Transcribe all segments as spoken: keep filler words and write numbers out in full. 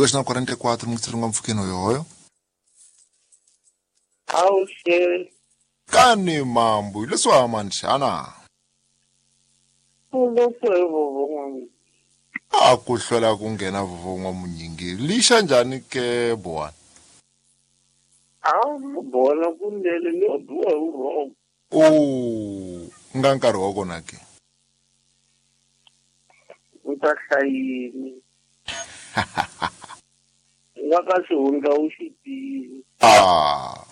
Dois na quarenta e quatro mutsilunga mpfukeni hoyohoyo. Awuxe. Kani mambo leswi hamani xana? A ku hlwela ku nghena vuvon'wa munyingi lixa njhani ke bwana? A bona kunene ni biwa hi vurhongo. O nga nkarhi wa kona ke? U ta hlayini. Nga ka xihundla u xi tivi. Ah.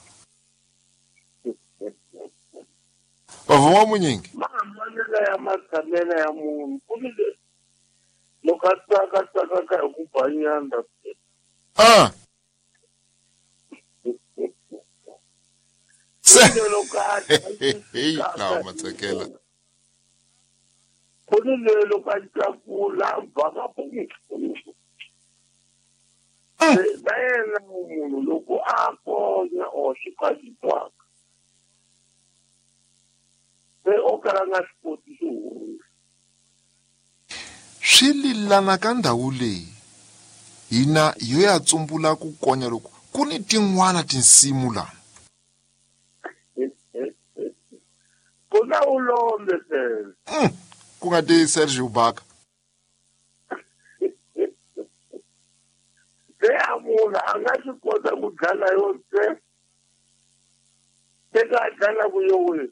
Vuvon'wa munyingi? Mahambanelo ya matshamelo ya munhu ku ni loko a tsaka tsakaka hi ku ba nyandza. Ah. Se loko a hey na matsekela. Ku ni loko a tlakula ba ka ku. Va yena munhu loko a konya o swi ka swi twaka. Se o kala nga swi koti xihundla. Swi lilana ka ndhawu leyi hina yo ya tsumbula ku konya loko ku ni tin'wana tinsimu lana. Ku na ulombe phela. Ku nga ti Sergio Baka. Se a munhu a nga swi kota ku dlala yo ntsena. Se ka dlala ku yo we.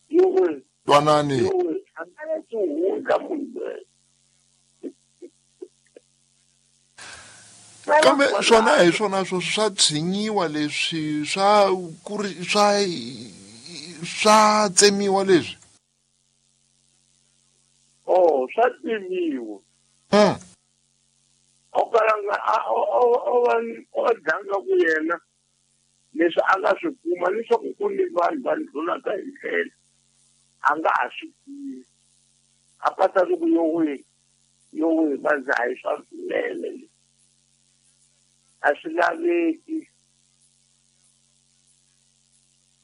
Yo we. Twanani. Yo we. A nga ya xihundla munhu loyi. Kambe swona hi swona swo swa tshinyiwa leswi swa ku ri swa swa tsemiwa leswi. Oh, swa tsemiwa. Mm. O kala nga a o o va o dlanga ku yena leswi a nga swi kuma leswaku ku ni vanhu va ndlulaka hi ndlela a nga ha swi tivi. A pata ku yo we yo we va ndza hi swa swinene. A swi laveki.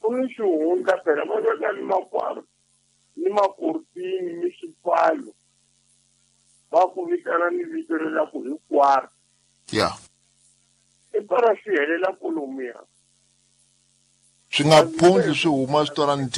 Ku ni xihundla phela va veka ni makwaro ni makortini ni swipfalo va ku vitana ni vito leri ku hi kwaro. Yeah. I para swi helela kolomuya. Swi nga phundli swi huma swi twala ni